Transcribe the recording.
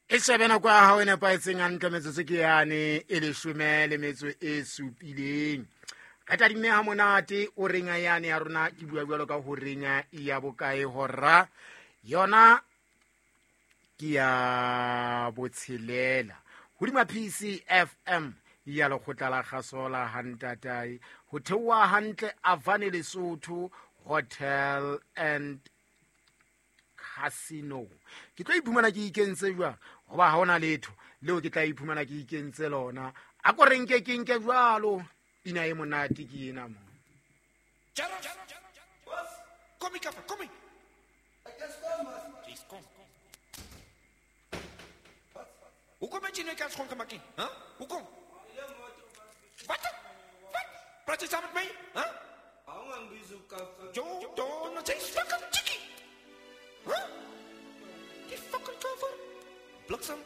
E shebe nako ya hao e nepahetseng hantle, metsotso ke yane e leshome le metso e supileng. Re tadimme ha monate o renga yane ya rona, ke bua jwalo ka ho renya ya bokae hora yona ke ya botshelela hodima PCFM ya lekgotla la kgaso la hantatae ho theoha hantle Avane Lesotho Hotel and Casino. Ke tlo iphumana ke ikentse jwang, goba ga ona letho leo ke tla iphumana ke ikentse lona. A ko re nke ke nke jwalo, pina e monate ke ena mo. Kom hier, kaffer, kom hier. Jeez, kom. Hoekom het jy nou kans skoon gemaak nie? Huh? Hoekom? Wat? Wat? Praat jy saam met my? Huh? Jo, don, jy is fucking chickie. Huh? Die fucking kaffer. Bliksem.